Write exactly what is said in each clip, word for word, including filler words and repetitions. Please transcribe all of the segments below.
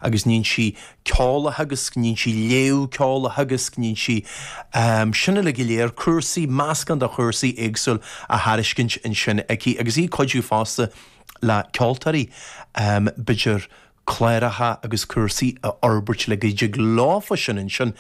agus níonn sí ceol a theagasc, níonn sí léamh ceoil a theagasc, níonn sí um, sin uilig go léir cúrsaí meascán de chúrsaí éagsúil á thairiscint ansin aici agus í cuidiú fosta le ceoltóirí um, b'fhéidir cláracha agus cúrsaí a fhorbairt le go dtig leofa sin ansin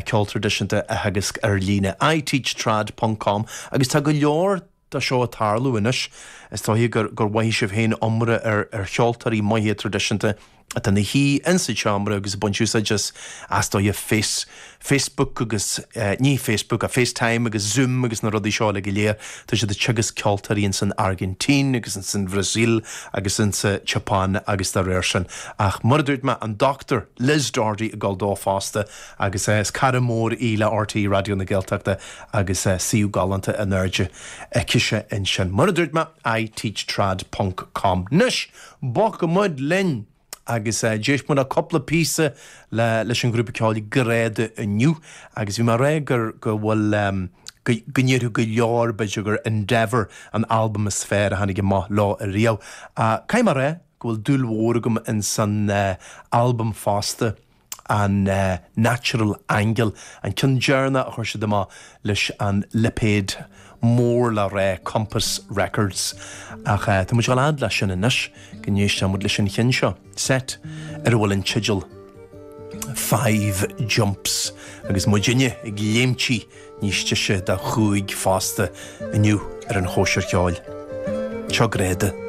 ceol traidisiúnta a theagasc ar líne iteachtrad.com agus tá go leor de seo ag tarlú anois is dóigh gur gur mhothaigh sibh féin iomrá ar ar cheoltóirí maithe traidisiúnta atá ina shuí insa tseomra agus ag baint úsáid as as dóigh face Facebook agus eh, ní Facebook a FaceTime agus Zoom agus na rudaí seo le go léir Tá siad ag teagasc ceoltóirí in san Argentín agus in san Brazil agus in sa Japan agus dá réir sin. Ach mar a dúirt mé an Dr. Liz Doherty ag gabháil dó fosta agus eh, is cara mór í le RTÉ Raidió na Gaeltachta agus eh, suíomh galánta in airde aici ansin. Mar a dúirt mé iteachtrad.com. Anois bogfaidh muid linn agus uh, d'éist muid cúpla píosa le leis an grúpa ceoil Greada inniu agus bhí mé rá gur go bhfuil um, go ndéarfadh go leor b'fhéidir gur Endeavour an album is fearr a tháinig amach leo ariamh. Uh, Caithfidh mé rá go bhfuil dúil mhór agam in san uh, album fosta an uh, Natural Angle an ceann deireanach a chuir siad amach leis an lipéad mór le rá Compass Records ach uh, Tá muid ag leis sin anois go n-éistfidh muid leis an cheann seo set ar a bhfuil an teideal Five Jumps agus muidinne ag léimtí níos deise de chúig fosta inniu ar an chóisir cheoil. Seo Greada.